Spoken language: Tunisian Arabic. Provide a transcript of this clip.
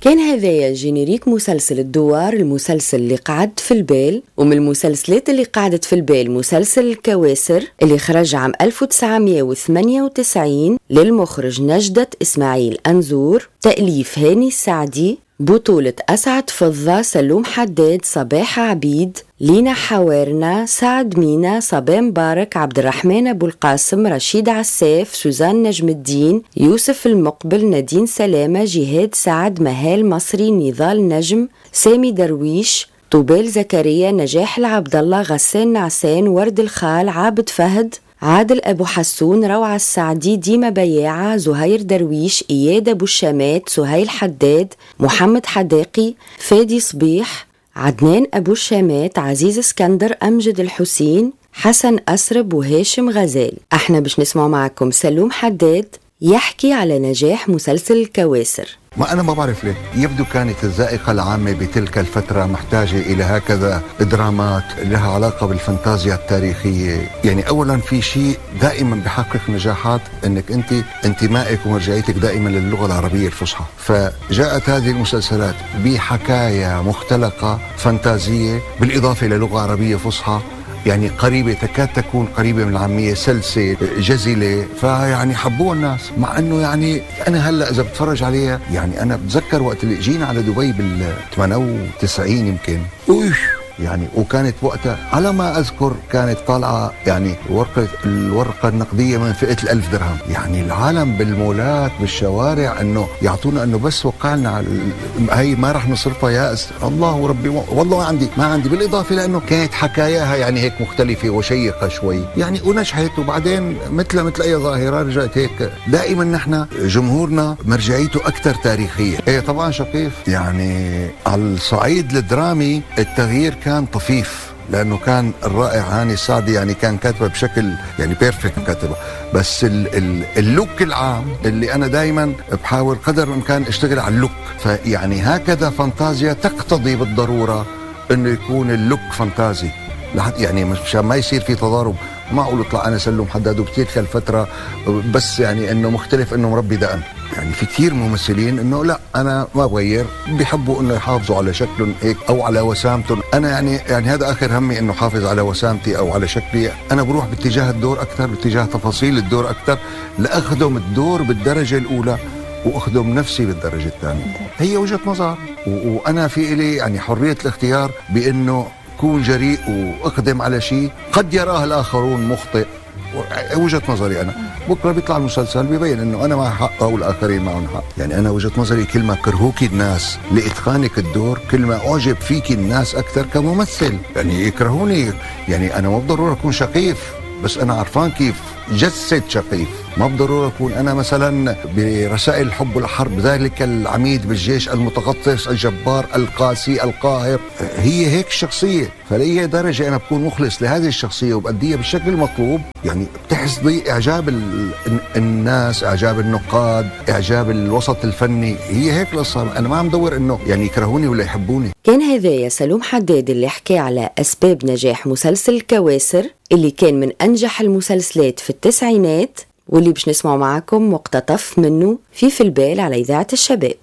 كان هذايا générique مسلسل الدوار، المسلسل اللي قعد في البال. ومن المسلسلات اللي قعدت في البال مسلسل الكواسر اللي خرج عام 1998 للمخرج نجدة إسماعيل أنزور، تأليف هاني السعدي، بطولة أسعد فضة، سلوم حداد، صباح عبيد، لينا حوارنا، سعد مينا، صبا مبارك، عبد الرحمن أبو القاسم، رشيد عساف، سوزان نجم الدين، يوسف المقبل، نادين سلامة، جهاد سعد، مهال مصري، نضال نجم، سامي درويش، طوبال زكريا، نجاح العبد الله، غسان نعسان، ورد الخال، عابد فهد، عادل أبو حسون، روعة السعدي، ديما بياعة، زهير درويش، إياد أبو الشامات، سهيل حداد، محمد حداقي، فادي صبيح، عدنان أبو الشامات، عزيز اسكندر، أمجد الحسين، حسن أسرب، وهاشم غزال. احنا باش نسمع معكم سلوم حداد يحكي على نجاح مسلسل الكواسر. ما أنا ما بعرف ليه يبدو كانت الذائقة العامة بتلك الفترة محتاجة إلى هكذا درامات لها علاقة بالفانتازيا التاريخية. يعني أولا في شيء دائما بحقق نجاحات، أنك أنت انتمائك ومرجعيتك دائما للغة العربية الفصحى، فجاءت هذه المسلسلات بحكاية مختلقة فانتازية بالإضافة إلى لغة عربية فصحى، يعني قريبة، تكاد تكون قريبة من العامية، سلسة جزلة، فيعني حبوها الناس. مع أنه يعني أنا هلأ إذا بتفرج عليها، يعني أنا بتذكر وقت اللي جينا على دبي بال 98 يمكن، يعني وكانت وقتها على ما أذكر كانت طالعة يعني الورقة النقدية من فئة 1000 درهم، يعني العالم بالمولات بالشوارع أنه يعطونا أنه بس وقعنا على هي ما رح نصرفها يا الله وربي، والله ما عندي. بالإضافة لأنه كانت حكاياها يعني هيك مختلفة وشيقة شوي يعني، ونجحت. وبعدين مثل أي ظاهرة رجعت هيك. دائما نحن جمهورنا مرجعيته أكثر تاريخية. إيه طبعا شقيف، يعني على الصعيد الدرامي التغيير كان طفيف، لأنه كان الرائع هاني السعدي يعني كان كاتبه بشكل يعني perfect كاتبه، بس ال look العام اللي أنا دايما بحاول قدر الإمكان اشتغل على ال look، فيعني هكذا فانتازيا تقتضي بالضرورة إنه يكون ال look فانتازي، يعني مشان ما يصير في تضارب. ما أقول اطلع أنا سلوم حداد وبتلك الفترة بس يعني إنه مختلف إنه مربي دقن. يعني في كثير ممثلين إنه لا أنا ما بغير، بيحبوا إنه يحافظوا على شكلهم هيك أو على وسامتهم. أنا يعني هذا آخر همي إنه حافظ على وسامتي أو على شكلي. أنا بروح باتجاه الدور أكثر، باتجاه تفاصيل الدور أكثر، لأخدم الدور بالدرجة الأولى وأخدم نفسي بالدرجة الثانية. هي وجهة نظر، وأنا في إلي يعني حرية الاختيار بإنه كون جريء وأقدم على شيء قد يراه الآخرون مخطئ. وجهة نظري أنا، بكرة بيطلع المسلسل بيبين إنه أنا مع حق أو الآخرين معهم حق. يعني أنا وجهة نظري كل ما كرهوكي الناس لإتقانك الدور، كل ما أعجب فيك الناس أكثر كممثل. يعني يكرهوني، يعني أنا مو بالضرورة أكون شقيف، بس أنا عرفان كيف جسد شقيف. ما بالضرورة أكون أنا مثلا برسائل الحب والحرب ذلك العميد بالجيش المتغطرس الجبار القاسي القاهر. هي هيك الشخصية، فلأي درجة أنا بكون مخلص لهذه الشخصية وبأديها بالشكل المطلوب، يعني بتحصدي إعجاب الناس، إعجاب النقاد، إعجاب الوسط الفني. هي هيك القصة. أنا ما عم دور إنه يعني يكرهوني ولا يحبوني. كان هذايا سلوم حداد اللي حكى على أسباب نجاح مسلسل الكواسر اللي كان من أنجح المسلسلات في التسعينات، واللي باش نسمع معكم مقتطف منه في البال على إذاعة الشباب.